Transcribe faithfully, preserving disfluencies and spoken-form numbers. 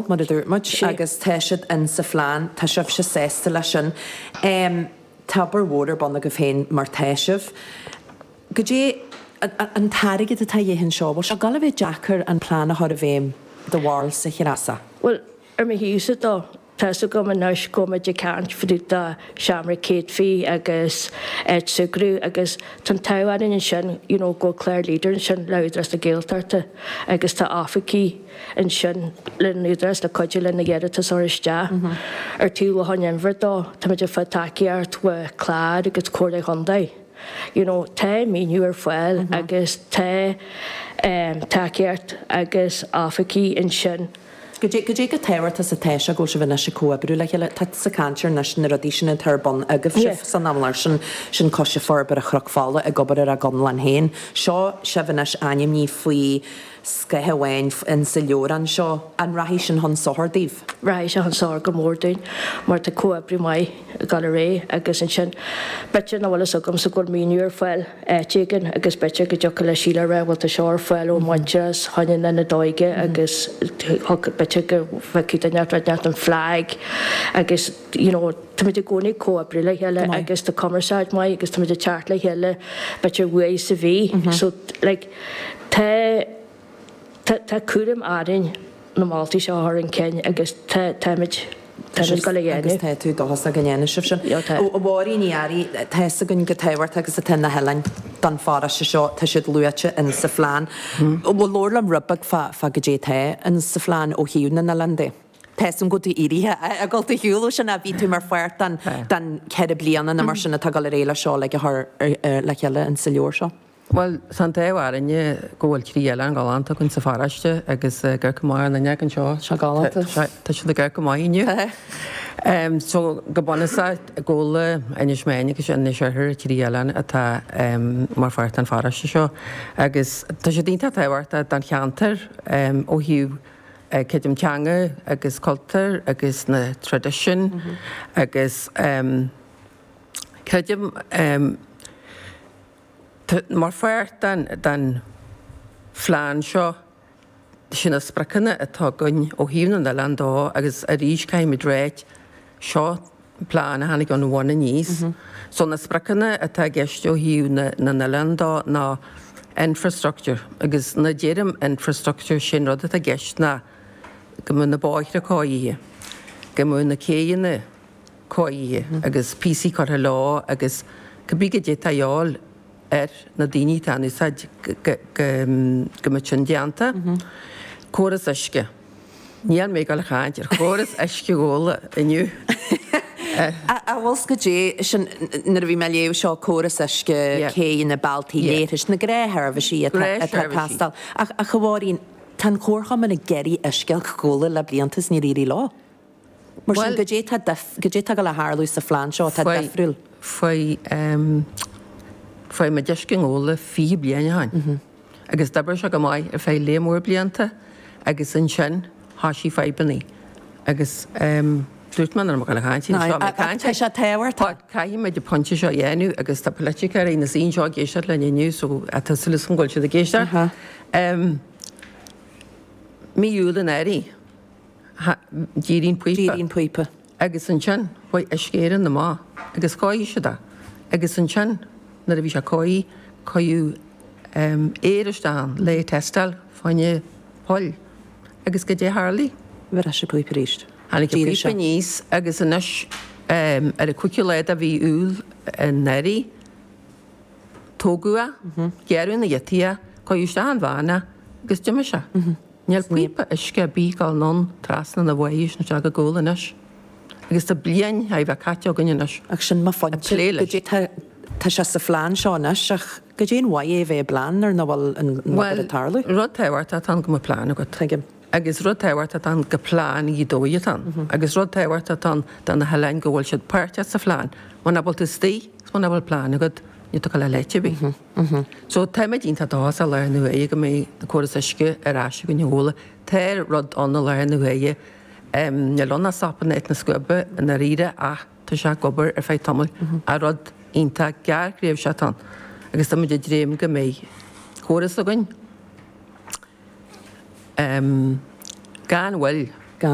mar a dúirt muid, agus tá siad in sa phlean, tá sibhse sásta leis sin. Um, tá obair mhór ar bun agaibh féin mar tá sibh. Goidé an t-airgead atá de dhíth anseo, bhfuil sé ag gabháil a bheith deacair an plean a chur i bhfeidhm do bharúil sa Treasa? Well, ar mo thaobhsa dó, tá a fhios agam anois go bhfuil muid ag caint fá dtaobh de seomra céadfaí agus áit súgradh agus tá an t-ádh orainn ansin you know go bhfuil clár Leader ansin le Údarás na Gaeltachta agus tá oifigigh ansin le an Údarás le cuidiú linn na hiarratais a chur isteach. Ar taobh Loch an Inbhir dó, táimid ag fáil tacaíocht ó chlár agus Comhairle Chontae. You know, tá maoiniú ar fáil agus tá um, tacaíocht agus oifigigh ansin. Goidé goidé chomh tábhachtach is atá sé go bhfuil sibh anois ag comhoibriú le chéile, tá sa caint anois na rudaí sin atá ar bun agaibh sibh san amlar sin sin Coiste Forbartha Chnoc Fola ag obair ar a gconlán féin. Seo sibh anois ainmnithe faoi scáth amháin in sa leabhrán seo an rachaidh sin chun sochair daoibh. Rachaidh sé chun sochair go mór dúinn mar tá comhoibriú maith ag dul ar aghaidh agus ansin b'fhéidir nach bhfuil fhios agamsa go bhfuil maoiniú ar fáil áit éigin agus b'fhéidir go dtiocfadh le Síle a rá bhfuil tá seo ar fáil ó Muintearas chuine na n-óige agus b'fhéidir go bhfeicfidh duine rud inteacht an flag agus you know táimid i gcónaí ag comhoibriú le chéile agus tá cumarsáid maith agus táimid ag teacht le chéile b'fhéidir uair sa mhí so like tá tá tá cúram orainn na moltaí seo a chur chun cinn agus tá táimid táimid go le Agus dhéanamh. tá tú dóchasach go ndéanfaidh sibh sin. Jo, tá. Ó Mháirín Ní Fhearraigh, tá fhios againn chomh tábhachtach agus atá na hoileáin don pharóiste seo, tá siad luaite in sa phlean. Bhfuil leor liom rud beag fá fá goidé atá in sa phlean ó thaobh na n-oileán de. Tá san go éirithe a gul tú shiúlú sin a bhí tú mar pháirt den den ceithre bliana na mar sin atá ag dul ar aghaidh le seo le chur le chéile in sa leabhar seo. Well, tá an t-ádh orainne go bhfuil trí oileán galánta againn sa pharóiste agus gur go maith an duine anseo. Seo galánta. Tá siad ag go maith inniu. Um, so go bunúsach Gabhla, Inis Meáin agus Inis Oirthir trí oileán atá um, mar pháirt an pharóiste seo. Agus tá sé iontach tábhachtach don cheantar um, ó thaobh uh, creidim teanga agus cultúr agus na tradition mm -hmm. agus um, creidim um, mar pháirt den, den phlean seo sin na spriocanna atá againn ó thaobh na n-oileán dó agus arís caithfimid réit seo plean a tháinig ón bhun aníos. Mm -hmm. So na spriocanna atá i gceist ó thaobh na, na n-oileán dó ná infrastructure agus nuair a deirim infrastructure sin rud atá i gceist ná go mbeadh na bóithre cóirithe, go mbeadh na céanna cóirithe mm -hmm. agus píosaí curtha leo agus cibé goidé atá de dhíobháil ar na daoine atá in úsáid go mbeadh sin déanta. Córas uisce. Níl mé ag caint ar chóras uisce Ghabhla inniu. A bhfuil goidé sin nuair a bhí mé léamh seo córas uisce céanna bealtaí leithris na gnáthsheirbhísí atá teastáil. Ach a Mháirín, tá an Comharchumann ag iarraidh uisce Ghabhla le blianta is níor éirigh leo. Mar sin goidé goidé tá le tarlú sa phlean seo atá difriúil. Faoi Fuair muid uisce i nGabhla fiche bliain ó shin. Agus d'oibrigh sé go maith ar feadh lear mór blianta agus ansin thoisigh fadhbanna. Agus dúirt mé nach raibh mé ag caint, seo mé ag caint. Tá sé tábhachtach. Caithfidh muid an pointe seo a dhéanamh agus tá polaiticeoirí na saoin seo ag éisteacht linn inniu so tá súil agam go bhfuil siad ag éisteacht. Mí Iúil anuraidh, d'éirigh an píopa. D'éirigh an píopa. Agus ansin chuaigh Uisce Éireann amach agus chóirigh siad é. Agus ansin nuair a bhí sé cóirithe, cuireadh aer isteach ann le tástáil fá choinne poill. Agus goidé a tharlaigh? Bhris an píopa arís. Tháinig an píopa aníos agus anois ar an cúigiú lá de mhí Iúil anuraidh, tógadh é, gearradh ina ghiotaí é, cuireadh isteach in veain é agus d'imigh sé. Níl píopa uisce ar bith ag dul anonn trasna na bhFaiche nó isteach go Gabhla anois. Agus tá bliain thar a bheith caite againn anois. Ach sin mo phointe. Goidé tá tá sé sa phlean seo anois ach goidé an mhaith é a bheith i bplean nuair nach bhfuil an obair ag tarlú. Bhuel, rud tábhachtach atá ann go mbeadh plean agat. Tuigim. Agus rud tábhachtach atá ann gur plean Ghaoth Dobhair atá ann. Agus rud tábhachtach atá ann do na hoileáin go bhfuil siad páirteach sa phlean. Muna bhfuil tú istigh agus muna bhfuil plean agat, níl tú ag dul áit ar bith. So táimid iontach dóchasach i láthair na huaire go mbeidh an córas uisce ar ais againn i nGabhla. Tá rud ann i láthair na huaire, níl ann ach sop in áit na scuaibe i ndáiríre ach tá sé ag obair ar feadh tamaill. Ach rud iontach gearrthréimhseach atá ann agus táimid ag dréim go mbeidh córas againn gan mhoill.